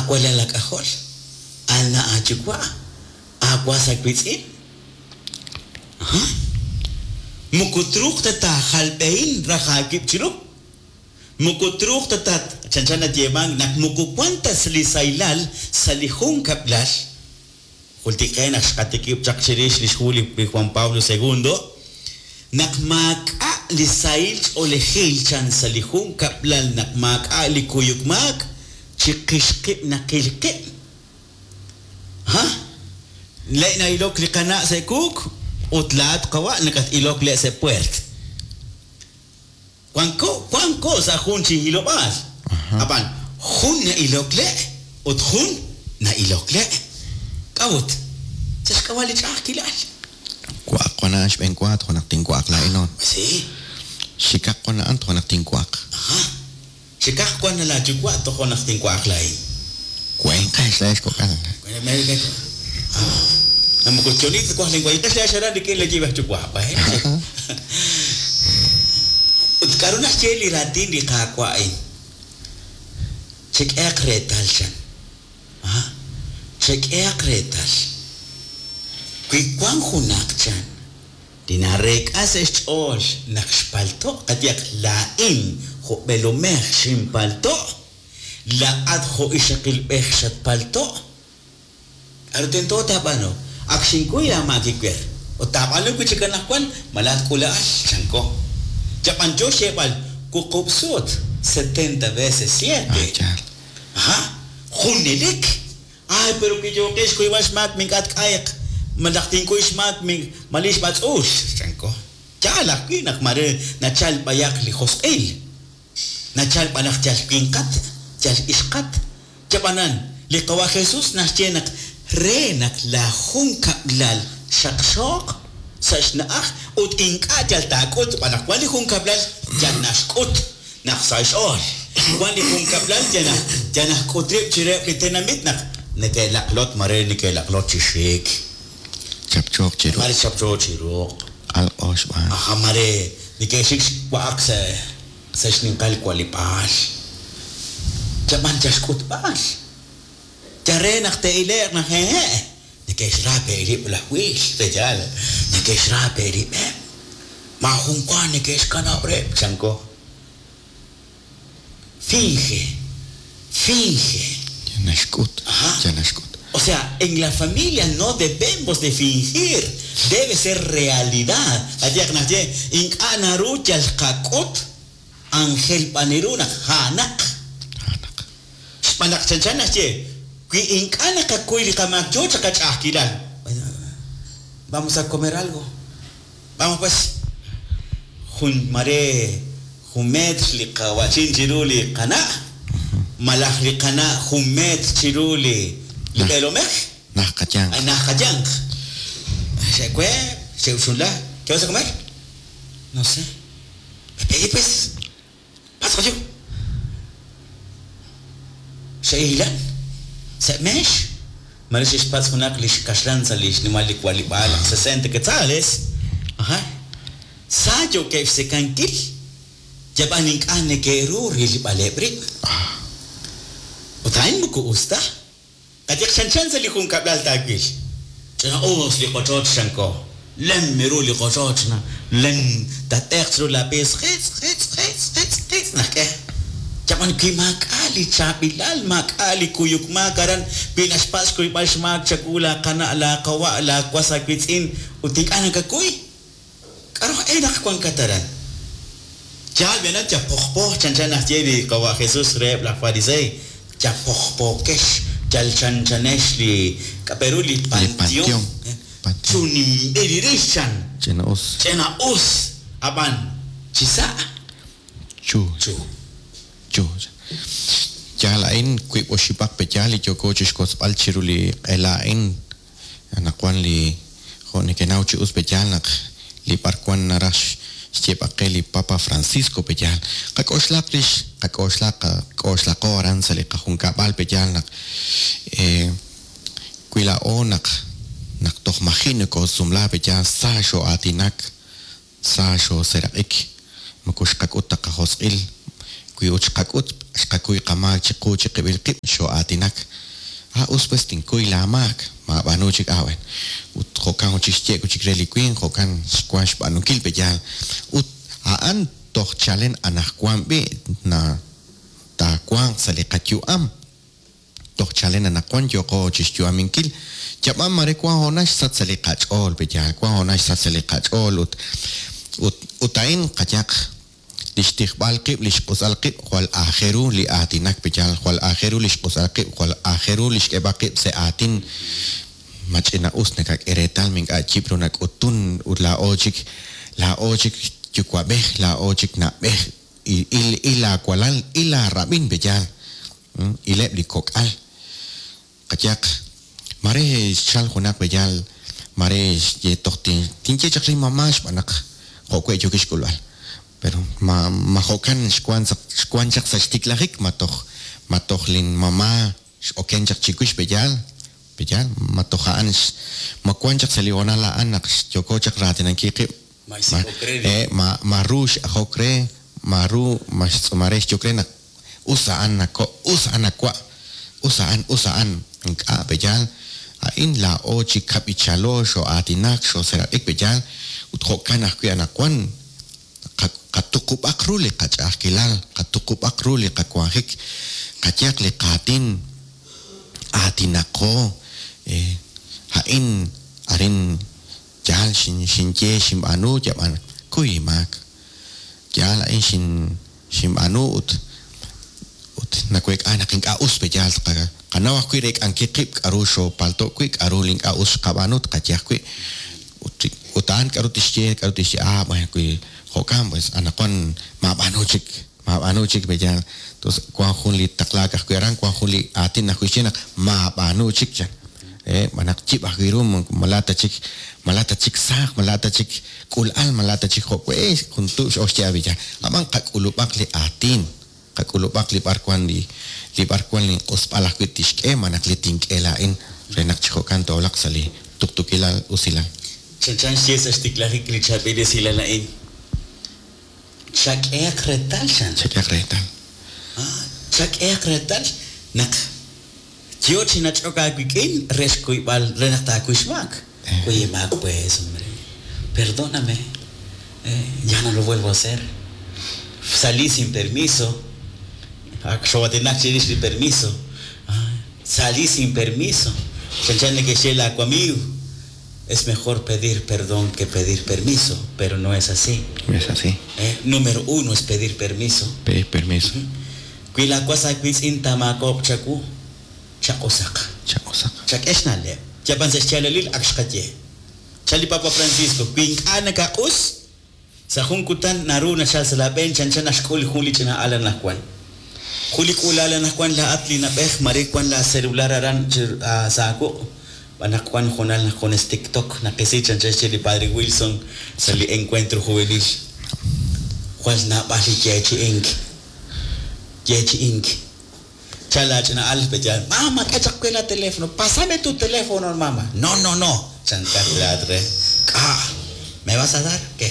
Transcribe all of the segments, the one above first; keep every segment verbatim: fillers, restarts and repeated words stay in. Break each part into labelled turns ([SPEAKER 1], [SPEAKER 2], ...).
[SPEAKER 1] Aawalal aak'ajol, aana' aayuwa', aawas aawiitz'in. Ajá. Moko truuq ta taajalb'ehin raj aawib' chiru. Moko truuq ta tat chanchan nayeemank naq moko wan ta li sahilal sa' li junkab'lal. Jultik qe naq xqatikib' chaq chirix li xhu li Juan Pablo segundo, naq maak'a' li sahil ch'oolejil chan sa' li junkab'lal, naq maak'a' li kuyuk maak, chiqix qib' naqil qib'. Ha? Le' na'ilok li qana' sa' kuuk ut laa'at qawa' nakat-ilok le' sa' puert. Wanko, wanko sa' jun chi hilob'aal. Ab'an jun na'ilok le' ut jun na'ilok le'. K'a'ut? Sa' xk'ab'a' li ch'a'ajkilal.
[SPEAKER 2] Wa'aq wan a'an xb'een wa tojo' naq tinwa'aq laa'in.
[SPEAKER 1] Sí.
[SPEAKER 2] Xikaq wan a'an tojo' naq tinwa'aq.
[SPEAKER 1] Ajá. Xikaq wan laayuwa' tojo' naq tinwa'aq laa'in.
[SPEAKER 2] Wenqex laa'ex kok'al.
[SPEAKER 1] Ah, moko chonit waj linwa'inqex laa'ex aran rik'in li yib'ej yuwa', bueno. Ut k'a'ru naxye li raatin li Qaawa' a'in? Chek'ehaq reetal chan. Ah, chek'ehaq reetal. Wi wan junaq chan li nareek'a sa' xch'ool naq xpalto', qayehaq laa'in jo' b'eelomej xinpalto', laa'at jo' ixaqilb'ej xatpalto', k'a'ru tento taab'aanu? Ak xinkuy aamaak iwer. Ut taab'aanu wi' chik anaqwan, malaj k'ula'al, chanko. Yab'an yo xyeeb'al wuqub' sut, setenta veces siete.
[SPEAKER 2] Ah, yaal.
[SPEAKER 1] Ajá, junelik. Ay, pero wi yooqex xkuyb'al xmaak mink'a' tk'ayq, malaj tinkuy xmaak min malix b'atz'uul, chanko. Yaal ajwi' naq mare nachal b'ayaq li josq'il. Nachal b'anaq yal winqat, yal ixqat. Yab'anan, li Qawa' Jesús naxye naq re naq la junkab'lal xaqxooq sa' xna'aj ut ink'a' yal taak'ut b'anaq wan li junkab'lal yal naxk'ut naq sa' xch'ool. Wan li junkab'lal yal naj, yal najk'ut rib' chireheb' li tenamit naq neke'laqlot mare neke'laqlot chi xik.
[SPEAKER 2] Chapchooq chi ruq'.
[SPEAKER 1] Mare chapchooq chi ruq'.
[SPEAKER 2] Alq'o xb'aan.
[SPEAKER 1] Aja, mare neke'xik xwa'aq sa', sa' xninqal walib'aal. Yab'an yal xk'utb'al. Ya re naq te'ile'q naq hehe'. Neke'xra pe'rib' laj wiil, yaal. Neke'xra pe'rib'eb'. Maajun wa neke'xkanab' rib', chanko. Finge, finge.
[SPEAKER 2] Ya naxk'ut,
[SPEAKER 1] Ajá.
[SPEAKER 2] ya naxk'ut.
[SPEAKER 1] O sea, en la familia no debemos de fingir, debe ser realidad. Qayehaq naxye, ink'a' naru yal qak'ut ángel b'aniru naq ja'naq.
[SPEAKER 2] Ja'naq.
[SPEAKER 1] Xb'aan naq chanchan naxye, wi ink'a' naqakuy li qamaak yo chaq qach'a'ajkilal. Vamos a comer algo. Vamos pues. Jun mare jun metr li qawachin chiru li qana', malaj li qana' jun metr chiru li li
[SPEAKER 2] Naj.
[SPEAKER 1] b'eelomej.
[SPEAKER 2] Naj qayanq.
[SPEAKER 1] Ay, naj qayanq. Xe'kwe, xe'uxunla. ¿Qué vas a comer? No sé. Pedí pues. Pasa yo. Xe'ilan. Se'mex. Mare xixpatz junaq li xkaxlan sa' li xnimal li walib'aal, sesenta quetzales. Ajá. Sa yookeb' xsekankil. Yab'an ink'a' neke'ru rilb'aleb' rib'. Ut a'in moko us ta. Qayehaq chanchan sa' li junkab'lal taawil. Ch'ina us li qochoch chanko. Lem ru li qochoch na. Lem tat'eq chiru la piis. Jitz, jitz, jitz, jitz, jitz. Najk'e. Yab'an wi maak'a' li chaab'ilal, maak'a' li kuyuk maak aran, wi naxpatz' xkuyb'al xmaak chawu la qana', la qawa', la was aawiitz'in, ut ink'a' nakakuy. K'a'ru e naq wankat aran? Yaal b'enat yapojpoj chanchan naxye li qawa' Jesús reheb' laj farisey. Yapojpokex, yal chanchanex li k'aperu li
[SPEAKER 2] Li
[SPEAKER 1] panteón.
[SPEAKER 2] panteón. Panteón.
[SPEAKER 1] Chunimb'ilirix chan.
[SPEAKER 2] Ch'ina us.
[SPEAKER 1] Ch'ina us. Ab'an, chisa'
[SPEAKER 2] Chu.
[SPEAKER 1] chu.
[SPEAKER 2] Chu. Yaal a'in wiib' oxib'aq pe yaal li yooko chixkotzb'al chiru li q'ela a'in. Anaqwan li jo' nekenaw chi us pe yaal naq li b'arwan naraj xyeeb'aq qe li Papa Francisco pe yaal. Qak'oxlaq rix, qak'oxlaq, qak'oxlaqo aran sa' li qajunkab'al pe yaal naq, eh, wi laa'o naq, naq toj maji' nokosumla pe yaal sa xo'aatinak, sa xoseraq'ik, moko xqak'ut ta qajosq'il, wi ut xqak'ut xqakuy qamaak chiqu chiqib'il qib' xoo'aatinak. Ah, us pues tinkuy laamaak, maab'aanu chik awen. Ut jo'kan chik xye chik re li winq, jo'kan xwan xb'aanunkil peyaal. Ut a'an toj chalen anajwan b'i na taawanq sa' li qayu'am. Toj chalen anaqwan yooqo chixyu'aminkil. Yab'an mare wan hoonal xsach sa' li qach'ool peyaal, wan hoonal xsach sa' li qach'ool ut ut ut a'in qayaq li xtijb'al qib', li xq'usal qib', jwal aajeru li aatinak peyaal, jwal aajeru li xq'usal qib', jwal aajeru li xk'eeb'al qib' sa' aatin. Mach'ina us nakak'e reetal mink'a' yib' ru nak'utun ut laa'o chik laa'o chik yuwa'b'ej, laa'o chik na'b'ej, il il aawalal, il aarab'in peyaal, ileb' li kok'al. Qayaq mare xchal junaq peyaal, mare xye toj tinye chaq li mamá xb'aan naq jo'we yookix xk'ulb'al. Pero ma ma jo'kan xwan xwan chaq sa' xtiklajik, ma toj ma toj lin mamá x'oken chaq chiwix peyaal, peyaal, ma toj a'an ma wan chaq sa' li hoonal a'an naq yooko chaq raatinankil qib'.
[SPEAKER 1] Ma xsik'ok re li-
[SPEAKER 2] Eh, ma ma ru x'ajok re, ma ru ma xtz'umare xyok re naq us a'an nako, us a'an nakwa', us a'an, us a'an ink'a' peyaal. A'in laa'o chi kab'ichalo xoo'aatinak, xooseraq'ik peyaal, ut jo'kan ajwi' anaqwan qatuqub'aq ru li qach'a'ajkilal, qatuqub'aq ru li qawanjik, qayaq li qaatin, aatinaqo, eh, a'in arin yaal xin xinye xinb'aanu yab'an kuy maak. Yaal a'in xin xinb'aanu ut ut naweek'a naq ink'a' us peyaal qa qanaw ajwi' reek'ankil qib' k'aru xoopalto' wi', k'aru li ink'a' us xqab'aanu tqaye ajwi'. Ut ut a'an k'aru tixye, k'aru tixye, ah, bueno, wi jo'kan pues anaqwan maab'aanu chik, maab'aanu chik peyaal. Entonces wan jun li taqlaak ajwi' aran, wan jun li aatin ajwi' xye naq maab'aanu chik chan. Eh, manaq yib' ajwi' ru, malata chik, malata chik saaj, malata chik k'ul'al, malata chik jo'we, jun tu' x'oxye ab'iyal. Ab'an qak'ulub'aq li aatin, qak'ulub'aq li b'arwan li li b'arwan li q'usb'al ajwi' tixk'e, manaq li tink'e laa'in re naq chi jo'kan toolaq sa' li tuqtuukilal usilal.
[SPEAKER 1] Chanchan xye sa' xtiklajik li chaab'il esilal a'in. Chak'ehaq reetal chan.
[SPEAKER 2] Chak'ehaq reetal.
[SPEAKER 1] Ah, chak'ehaq reetal naq yo chi nach'ok aawik'in re xkuyb'al re naq taakuy xmaak. Oye, maak pues, hombre. Perdóname. Eh, ya no lo vuelvo a hacer. Salí sin permiso. Xoo'aatinak chirix li permiso. Ah, salí sin permiso. Chanchan neke'xye laaw amigo. Es mejor pedir perdón que pedir permiso, pero no es así.
[SPEAKER 2] No es así.
[SPEAKER 1] Eh, número uno es pedir permiso.
[SPEAKER 2] Pedir permiso.
[SPEAKER 1] Wi laawas aawiitz'in taamaakoob' chawu, chaq'usaq.
[SPEAKER 2] Chaq'usaq.
[SPEAKER 1] Chak'e xna'leb'. Yab'an sa' xyaalalil ak xqaye. Chal li Papa Francisco, wi ink'a' nakaq'us, sa' jun kutan naru nachal sa' laab'een chanchan naxk'ul jun li ch'ina al anaqwan. Jun li k'uula'al anaqwan laa'at li nab'ej mare wan la celular aran chi sa' aawuq'. B'anaq wan hoonal naq junes TikTok naqisi chanchan xye li Padre Wilson sa' li encuentro juvenil. Jwal naab'al li yeechi'ink. Yeechi'ink. Chal laach'ina al peyaal, mama, k'e chaq we la teléfono, pásame tu teléfono, mama. No, no, no. Chankat laat re. K'a, ¿me vas a dar? ¿Qué?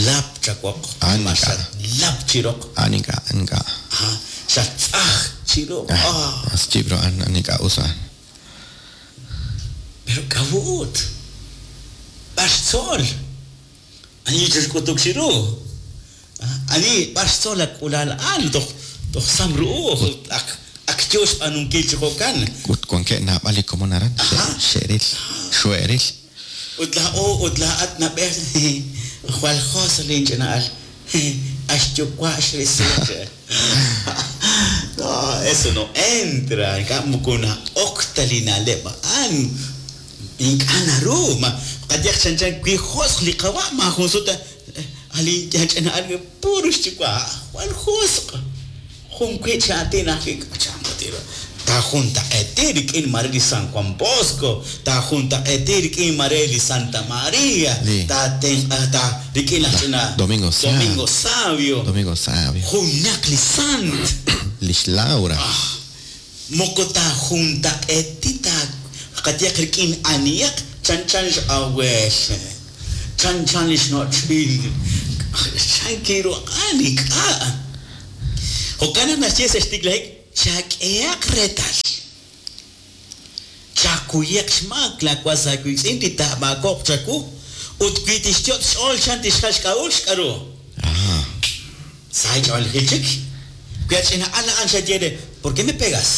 [SPEAKER 1] Lap chawoq.
[SPEAKER 2] Ah,
[SPEAKER 1] Ma
[SPEAKER 2] ink'a'.
[SPEAKER 1] xat lap chiroq.
[SPEAKER 2] A'an ink'a', ink'a'.
[SPEAKER 1] Ajá. Xat tz'aj chiroq. Ah.
[SPEAKER 2] As yib' ru a'an, a'an ink'a' us a'an.
[SPEAKER 1] Pero kawut. B'ar xtzol. Ani chixk'utuk chiru. Ani b'ar xtzol ak'ulal a'an toj toj sam ru'uj ak ak yo xb'aanunkil chi jo'kan.
[SPEAKER 2] Ut wankeb' naab'al li komon aran,
[SPEAKER 1] Ajá.
[SPEAKER 2] xe'ril, xo'eril.
[SPEAKER 1] Ut laa'o ut laa'at nab'ej jwal jos linch'ina'al. Axyuwa' xrisi. No, eso no entra. Ink'a' moko na'ok ta li na'leb' a'an. Ink'a' naru. Ma qayaq chanchan wi josq' li qawa' maajun sut alin ch'ina'al puro xyuwa' jwal josq'. Jun wi' chi aatin ajwi' k'achan Tajuntaq'eti rik'in mare li San Juan Bosco, tajuntaq'eti rik'in mare li Santa María,
[SPEAKER 2] Li-
[SPEAKER 1] tatenq'a ta rik'in laj ch'ina
[SPEAKER 2] Domingo Savio.
[SPEAKER 1] Domingo Savio.
[SPEAKER 2] Domingo Savio.
[SPEAKER 1] Junaq li sant.
[SPEAKER 2] Lix Laura.
[SPEAKER 1] Moko tajuntaq'eti ta qayaq rik'in aniyaq chanchan x'awel. Chanchan li xnoch'il. Chankiru ani k'a. Jo'kan naq naxye sa' xtiklajik chak'ehaq reetal. Chakuyaq xmaak laawas aawiitz'in li taamaakob'q chawu ut wi tixyot' xch'ool chan tixjal xk'a'uxl k'aru.
[SPEAKER 2] Ah.
[SPEAKER 1] Sa ch'oolejil chik. Wi ach'ina'al a'an xaye re, ¿por qué me pegas?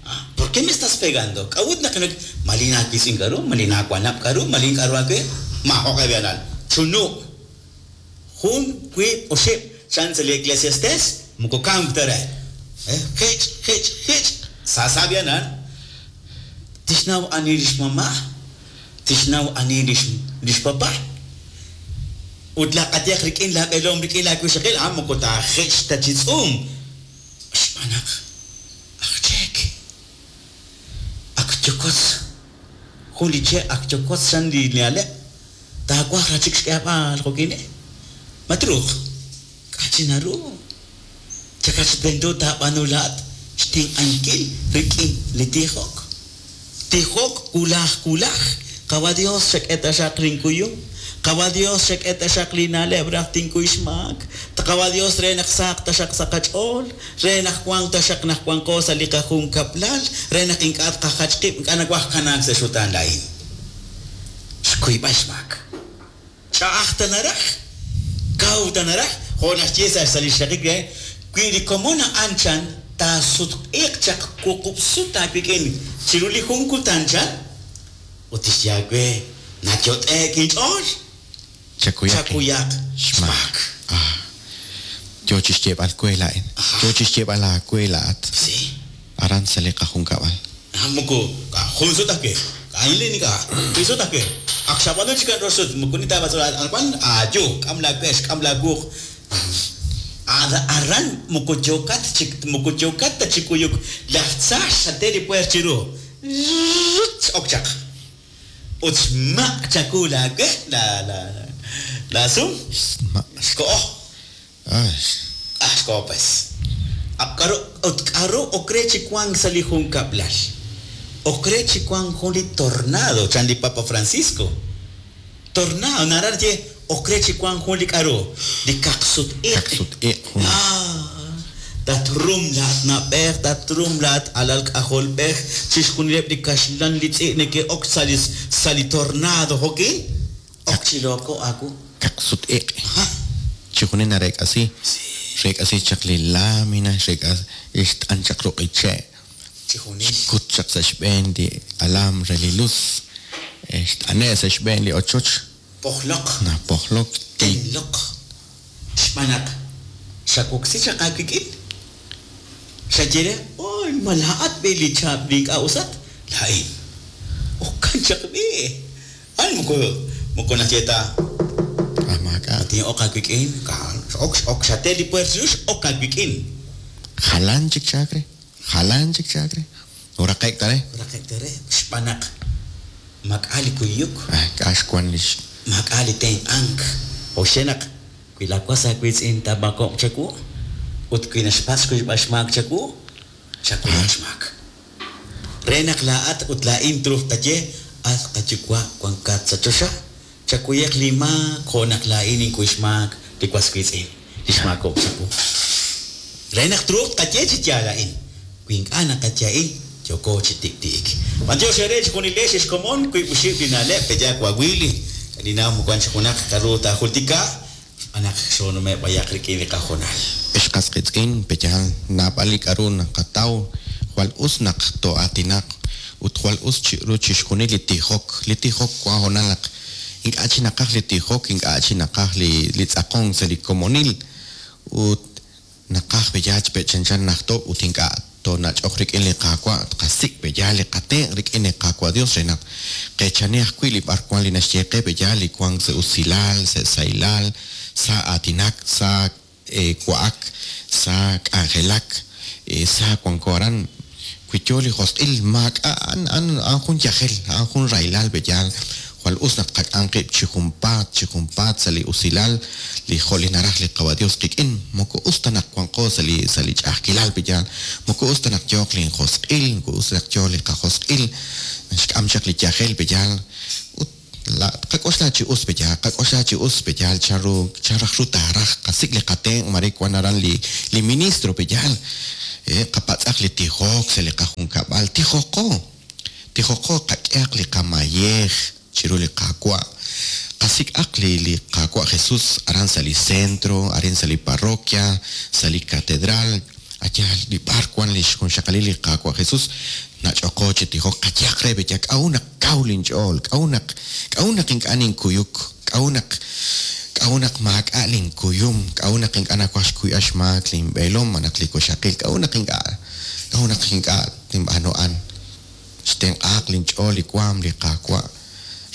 [SPEAKER 1] Ah, ¿por qué me estás pegando? K'a'ut naq nak malin aawiitz'in k'aru, malin aawanab' k'aru, malin k'aru aawe, maajoq'e b'ianal. Chunu'. Jun, wiib', oxib', chan sa li Eclesiastes, moko kamk ta re. Eh, jich, jich, jich. Sa sa b'ianal. Tixnaw ani lix mamá, tixnaw ani lix lix papá. Ut laq'atyaq rik'in laab'eelom rik'in laawixaqil, ah, moko taajich ta chi tz'uum. Xb'aan naq aj cheek. Ak yokotz. Jun li che' ak yokotz chan li na'leb'. Taawaj ra chik xk'eeb'al jo'kine. Ma truuq. K'a' chi naru. Chakach tento taab'aanu laat xtenq'ankil rik'in li tijok. Tijok wulaj wulaj. Qawa Dios xak'e taxaq linkuyum. Qawa Dios xak'e taxaq li na'leb' raj tinkuy xmaak. Qawa Dios re naq saaq taxaq sa' qach'ool, re naq wanq taxaq naq wanqo sa' li qajunkab'lal, re naq ink'a' tqajach qib', ink'a' nawaj kanaak sa' xutaan laa'in. Xkuyb'al xmaak. Ch'a'aj ta naraj, kaw ta naraj, jo' naxye sa' sa' li xraqik re, wi li komon a'an chan taasutq'iiq chaq wuqub' sut aawik'in chiru li jun kutan chan, ut tixye aawe nayot'e'k inch'ool,
[SPEAKER 2] Chakuyaq.
[SPEAKER 1] chakuyaq
[SPEAKER 2] Xmaak.
[SPEAKER 1] xmaak.
[SPEAKER 2] Ah. Yo chi xyeeb'al we laa'in. Yo chi xyeeb'al aawe laa'at.
[SPEAKER 1] Sí.
[SPEAKER 2] Aran sa' li qajunkab'al.
[SPEAKER 1] Ah, moko jun sut ajwi'. K'a'in li nik'a. Jun sut ajwi'. Ak xab'aanu chik rox sut, moko nitaab'as anaqwan aayu, k'am laawe, xk'am laakuuq. Ar- Aran moko yokat chik, moko yokat ta chi kuyuk. Laj tza xate li puer chiru. Ok chaq. Ut xmaq' chaku laawe, la la la sum,
[SPEAKER 2] Ma-
[SPEAKER 1] xko'o.
[SPEAKER 2] Ah.
[SPEAKER 1] Ah, xko'o pues. Ab k'aru ut k'aru okre chi wank sa' li junkab'lal. Okre chi wank jun li tornado chan li Papa Francisco. Tornado naraj ye okre chi wank jun li k'aru li kaqsut-iq'.
[SPEAKER 2] Kaqsut-iq' jun.
[SPEAKER 1] Ah, tatrum laat nab'ej, tatrum laat alal k'ajolb'ej, chixjunileb' li kaxlan li tz'i' neke'ok sa' li sa' li tornado jo'kin. Ok chi loko aku.
[SPEAKER 2] Kaqsut-iq'.
[SPEAKER 1] Ah,
[SPEAKER 2] Chijunil nareek'asi.
[SPEAKER 1] sí,
[SPEAKER 2] Xreek'asi chaq li lámina, xreek'asi xt'an chaq ruq'i che'.
[SPEAKER 1] chijunil.
[SPEAKER 2] Xkut chaq sa' xb'een li alambre li luz. Eh, xt'ane' sa' xb'een li ochoch.
[SPEAKER 1] Pojloq.
[SPEAKER 2] Napojlok. Ti-
[SPEAKER 1] Tenloq. Xb'aan naq xawoksi chaq aawik'in. Xaye re, oy, malaat b'i li chaab' li ink'a' usat. Laa'in. Okan chaq b'i. An moko moko naxye ta
[SPEAKER 2] Ah, maak'a'.
[SPEAKER 1] tin'oq aawik'in. Ka- Ok ok xate li puer chiru x'ok aawik'in.
[SPEAKER 2] Jalan chik chaakre. Jalan chik chaakre. Uraqe'k ta re.
[SPEAKER 1] Raqe'k tere xb'aan naq mak'a li kuyuk,
[SPEAKER 2] Ah, k'a' xwan li x-
[SPEAKER 1] mak'a li tenq'ank. Oxe naq wi laawas aawiitz'in taamako'q chawu ut wi naxpatz' xkuyb'al xmaak chawu, chakuyaq xmaak. Re naq laa'at ut laa'in truuq taye, at qayuwa' wankat sa' choxa, chakuyaq li maak jo' naq laa'in inkuy xmaak li was wiitz'in, li xmaakok chawu. Re naq truuq taye chi yaal a'in, wi ink'a' naqaye a'in, yooko chi tikti'ik. B'antiox eere chijunilex xkomon wiib' oxib' li na'leb' peyaak wawili, li naw muwan chi junaq k'aru taajultika, xb'aan naq xoonume' b'ayaq rik'in li qajonal.
[SPEAKER 2] Ex qasqitz'in peyal naab'al li k'aru naqataw jwal us naq to'aatinaq ut jwal us chi ru chixjunil li tijok li tijok wan honal naq ink'a' chi naqaj li tijok ink'a' chi naqaj li li tz'aqon sa' li komonil ut naqaj peyal chpechanchan najto ut ink'a' tonach'oq rik'in li qaawa' tqasik' peyal li qatenq' rik'in li qaawa' Dios re naq qechani ajwi' li b'ar wan li naxye qe peyal li wank sa' usilal sa' saylal sa' aatinak sa' eh, wa'ak sa' k'anjelak eh, sa' wanko aran wi yo li josq'il maak'a' an an an jun yajel an jun raylal peyal jwal us naq qak'an qib' chi junpaat chi junpaat sa' li usilal li jo' li naraj li qawa Dios qik'in moko us ta naq wanqo sa' li sa' li ch'a'ajkilal peyal moko us ta naq yooq li josq'il moko us naq yoo li qajosq'il xk'am chaq li yajel peyal ut La qak'oxla chi us peyaal, qak'oxla chi us peyaal chan ru chan raj ru taaraj qasik' li qatenq' mare wan aran li li ministro peyaal. Eh, qapatz'aq li tijok sa' li qajunkab'al, tijoqo. Tijoqo qak'ehaq li qamayej chiru li Qaawa'. Qasik'aq li li Qaawa' Jesus aran sa' li centro, arin sa' li parroquia, sa' li catedral, ayal li b'ar wan li xjunxaqalil li Qaawa' Jesus, nach'oqo chi tijok, qayehaq re peya k'a'ut naq kaw linch'ool, k'a'ut naq k'a'ut naq ink'a' ninkuyuk, k'a'ut naq k'a'ut naq maak'a' linkuyum, k'a'ut naq ink'a' nawaj xkuyb'al xmaak linb'eelom malaj li wixaqil, k'a'ut naq ink'a' k'a'ut naq ink'a' tinb'aanu a'an. Xtenq'aaq linch'ool li waam li Qaawa'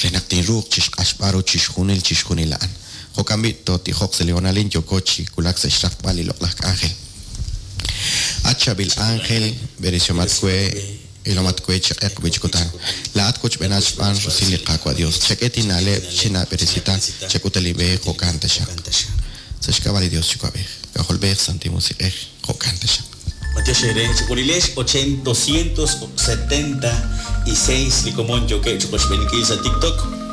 [SPEAKER 2] re naq tinruuq chixq'axb'al ru chixjunil chixjunil a'an. Jo'kan b'i' tootijoq sa' li honalin yooko chi wulak sa' xraqb'al li loq'laj k'anjel. At chaab'il ángel, b'eresihomat we, ilomat we chi q'eq wi chi kutan. Laa'at wochb'eenat xb'aan rusil li Qaawa' Dios. Chak'e tinna'leb' chinaab'eresita, chak'ut li b'e jo'kan taxaq. Sa' xk'ab'a' li Dios Yuwa'b'ej, K'ajolb'ej, Santil Musiq'ej, jo'kan taxaq.
[SPEAKER 1] Mateo Xere, Chiculilex, doscientos setenta y seis li komon yookeb' chi qochb'eenikil sa' TikTok.